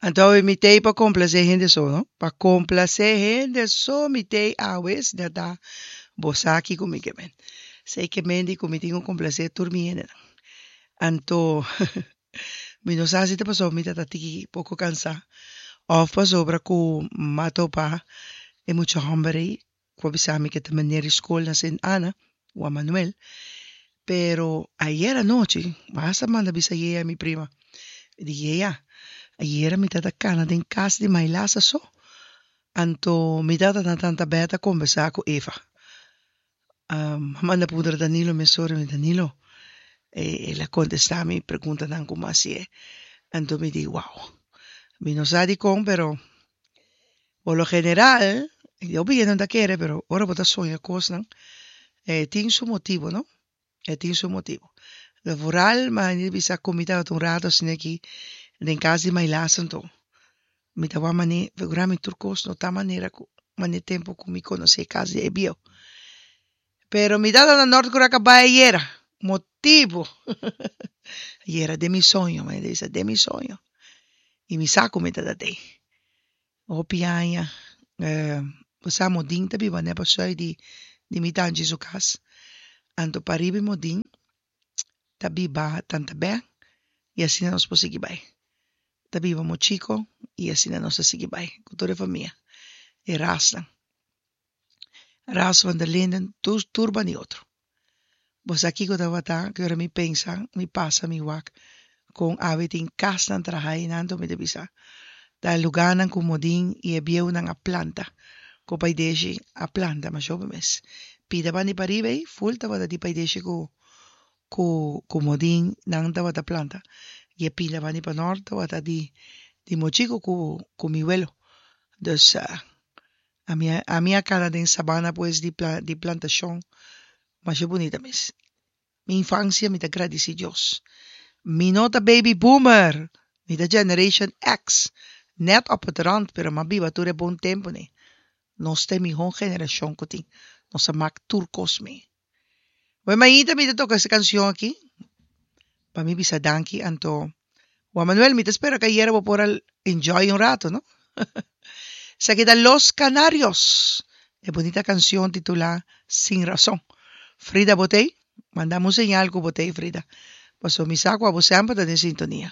Anto awe mi t'ei pa komplasé hende so, no? Pa komplasé hende so mi t'ei awe, si ta bo sa kiko mi ke men. Esei ke men di ku mi tin ku komplasé tur mi hendenan. Anto mi no sa si ta pasobra mi ta ta tiki poko kansá òf pasobra ku m'a topa e mucha hòmber ei ku a bisa mi ke ta meneer di skol na Sint Anna, Juan Manuel. Pero ayer anochi, mi hasta manda bisa Yea mi prima, mi di Yea, ayera mi ta ta kana den kas di Mailasa so, anto mi tata na tanta bèt a kombersá ku Eva. Mi a manda puntra Danilo mesora, mi di Danilo, el a kontestá mi preguntanan ku mi a hasié, anto mi di wow, mi no sa dikon pero Por lo general, hopi hende no ta kere, pero ora bo ta soña kosnan, e tin su motibu, no? E tin su motibu. Lo vooral, mi a bisa ku mi tabata un rato asina aki den kas di Mailaas anto mi ta wak manera, figura mi tur kos no ta manera ku manera tempu ku mi konosé kas di e bieu. Pero mi tata na Nort Korea bai ayera, motibu. Ayera den mi soño, mi ta bisa den mi soño. I mi sa ku mi tata t'ei. Hopi aña bo sa Modin ta biba nèt pasoi di di mi tanchi su kas. Anto pariba e Modin ta biba tanta bè i asina nos por sigui bai. Ta biba Mochiko i asina nos ta sigui bai ku tur e famia, e rasnan. Ras van der Linden tur tur ban di otro. Bo sa kiko tabata ki ora mi pensa, mi pasa mi wak kon awe tin kasnan traha einan anto mi ta bisa ta e lugarnan ku Modin i e bieunan a planta, ku Paideshi a planta masha hopi mes. Pida ban di pariba ei ful tabata di Paideshi ku ku ku Modin nan tabata planta i e pida ban di panort tabata di di Mochiko ku ku mi welo. Dus Ami a ami a kana den sabana pues di pla di plantashon masha bunita mes. Mi infansia mi ta gradisi Dios. Mi no ta baby boomer, mi ta generation X, net op het rand pero m'a biba tur e bon tempunan. Nos ta e mihó generashon ku tin. Nos a mak tur kos mee. Wè mainta mi ta toka ese kanshon aki pa mi bisa danki anto Juan Manuel mi ta spera ku ayera bo por a enjoy un rato no. Esaki ta Los Canarios e bunita kanshon titulá Sin Razon. Frida bo t'ei? Manda mi un señal ku bo t'ei Frida pasobra mi sa ku abo semper ta den sintonia.